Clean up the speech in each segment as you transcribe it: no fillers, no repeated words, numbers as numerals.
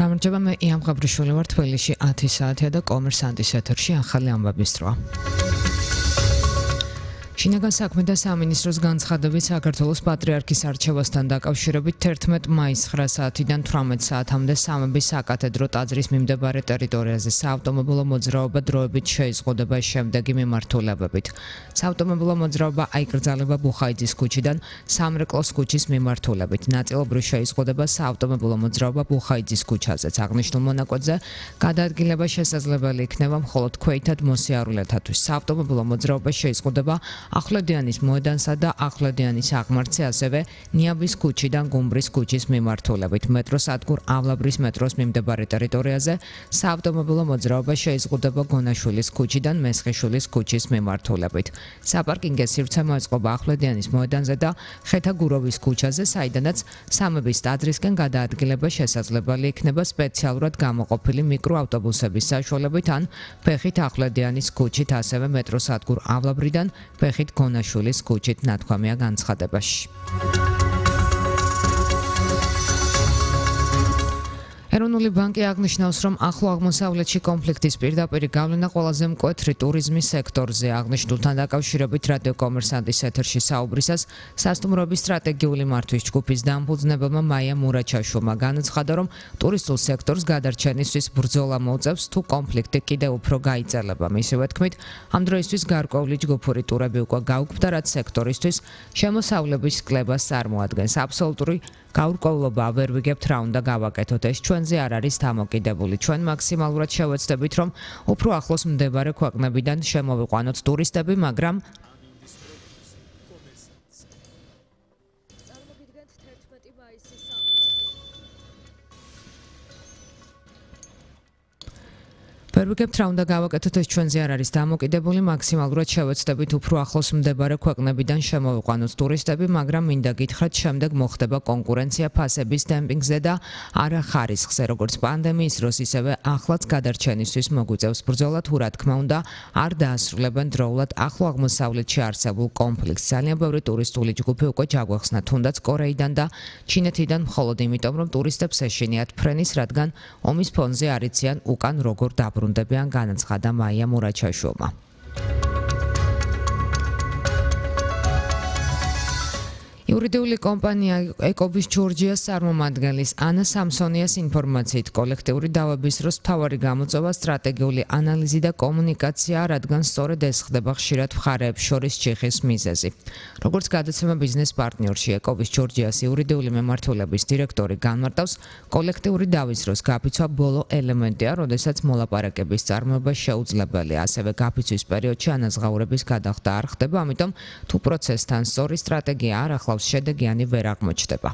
გამარჯობა, მე იამ გაბრიშვილი ვარ თბილისში 10 საათია და კომერსანტის ეთერში ახალი ამბების დროა. შინაგან საქმეთა სამინისტროს განცხადებით საქართველოს პატრიარქის არჩევასთან დაკავშირებით 11 მაისს 9 საათიდან 18 საათამდე სამების საკათედრო ტაძრის მიმდებარე ტერიტორიაზე საავტომობილო მოძრაობა დროებით შეიზღუდება შემდეგი მიმართულებებით. საავტომობილო მოძრაობა აიკრძალება ბუხაიძის ქუჩიდან სამრეკლოს ქუჩის მიმართულებით. ნაწილობრივ შეიზღუდება საავტომობილო მოძრაობა ბუხაიძის ქუჩაზეც. აღნიშნულ მონაკვეთზე გადაადგილება შესაძლებელი იქნება მხოლოდ ქვეითად მოსიარულეთათვის. საავტომობილო მოძრაობა შეიზღუდება ახვლედიანის მოედანსა და ახვლედიანის აღმართზე, ასევე ნიაბის ქუჩიდან გუმბრის ქუჩის მიმართულებით. მეტროსადგურ ავლაბრის მეტროს მიმდებარე ტერიტორიაზე საავტომობილო მოძრაობა შეიზღუდება გონაშვილის ქუჩიდან მესხიშვილის ქუჩის მიმართულებით. საპარკინგო სივრცე მოეწყობა ახვლედიანის მოედანზე და ხეთაგუროვის ქუჩაზე, საიდანაც სამების ტაძრისკენ გადაადგილება შესაძლებელი იქნება სპეციალურად გამოყოფილი მიკროავტობუსების საშუალებით ან ფეხით ახვლედიანის ქუჩით, ასევე მეტროსადგურ ავლაბრიდან ფეხით გონაშვილის ქუჩით ნათქვამია განცხადებაში. ეროვნული ბანკი აღნიშნავს, რომ ახლო აღმოსავლეთში კონფლიქტის პირდაპირი გავლენა ყველაზე მკვეთრი ტურიზმის სექტორზე. აღნიშნულთან დაკავშირებით რადიო კომერსანტის ეთერში საუბრისას სასტუმროების სტრატეგიული მართვის ჯგუფის დამფუძნებელმა მაია მურაჩაშვილმა განაცხადა, რომ ტურისტულ სექტორს გადარჩენისთვის ბრძოლა მოუწევს, თუ კონფლიქტი კიდევ უფრო გაიწელება. მისივე თქმით, ამ დროისთვის გარკვეული ჯგუფური ტურები უკვე გაუქმდა, რაც სექტორისთვის შემოსავლების კლებას წარმოადგენს. აბსოლუტური გაურკვევლობა ვერ ვიგებთ რა უნდა გავაკეთოთ, ეს ჩვენზე არ არის დამოკიდებული. ჩვენ მაქსიმალურად შევეცდებით, რომ უფრო ახლოს მდებარე ქვეყნებიდან შემოვიყვანოთ ტურისტები, მაგრამ ვერ ვიგებთ რა უნდა გავაკეთოთ, ეს ჩვენზე არ არის დამოკიდებული. მაქსიმალურად შევეცდებით უფრო ახლოს მდებარე ქვეყნებიდან შემოვიყვანოთ ტურისტები, მაგრამ მინდა გითხრათ, შემდეგ მოხდება კონკურენცია ფასების დემპინგზე და არა ხარისხზე, როგორც პანდემიის დროს, ისევე ახლაც გადარჩენისთვის მოგვიწევს ბრძოლა, თუ რა თქმა უნდა არ დაასრულებენ დროულად ახლო აღმოსავლეთში არსებულ კონფლიქტს. ძალიან ბევრი ტურისტული ჯგუფი უკვე ჩაგვეხსნა, თუნდაც კორეიდან და ჩინეთიდან, მხოლოდ იმიტომ, რომ ტურისტებს ეშინიათ ფრენის, რადგან ომის ფონზე არ იციან უკან როგორ დაბრუნდებიან, განაცხადა მაია მურაჩაშვილმა. იურიდიული კომპანია ეკობის ჯორჯიას წარმომადგენლის ანა სამსონიას ინფორმაციით, კოლექტიური დავების დროს მთავარი გამოწვევა სტრატეგიული ანალიზი და კომუნიკაციაა, რადგან სწორედ ეს ხდება ხშირად მხარეებს შორის ჩიხის მიზეზი. როგორც გადაცემა ბიზნეს პარტნიორში ეკობის ჯორჯიას იურიდიული მემართულების დირექტორი განმარტავს, კოლექტიური დავის დროს გაფიცვა ბოლო ელემენტია, როდესაც მოლაპარაკების წარმოება შეუძლებელია. ასევე გაფიცვის პერიოდში ანაზღაურების გადახდა არ ხდება, ამიტომ თუ პროცესთან სწორი სტრატეგია არ ახლავს, შედეგიანი ვერ აღმოჩნდება.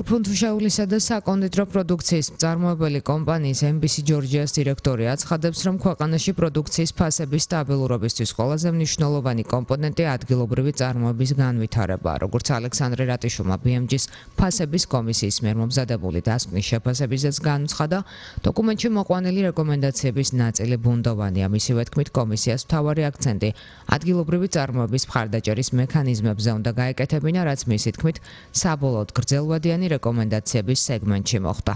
ფუნთუშაულისა და საკონდიტრო პროდუქციის მწარმოებელი კომპანიის MBC ჯორჯიას დირექტორი აცხადებს, რომ ქვეყანაში პროდუქციის ფასების სტაბილურობისთვის ყველაზე მნიშვნელოვანი კომპონენტი ადგილობრივი წარმოების განვითარებაა. როგორც ალექსანდრე რატიშვილმა BMG-ს ფასების კომისიის მიერ მომზადებული დასკვნის შეფასებისას განუცხადა, დოკუმენტში მოყვანილი რეკომენდაციების ნაწილი ბუნდოვანია. მისივე თქმით, კომისიას მთავარი აქცენტი ადგილობრივი წარმოების მხარდაჭერის მექანიზმებზე უნდა გაეკეთებინა, რაც მისი თქმით საბოლოოდ გრძელვადიანი რეკომენდაციების სეგმენტში მოხდა.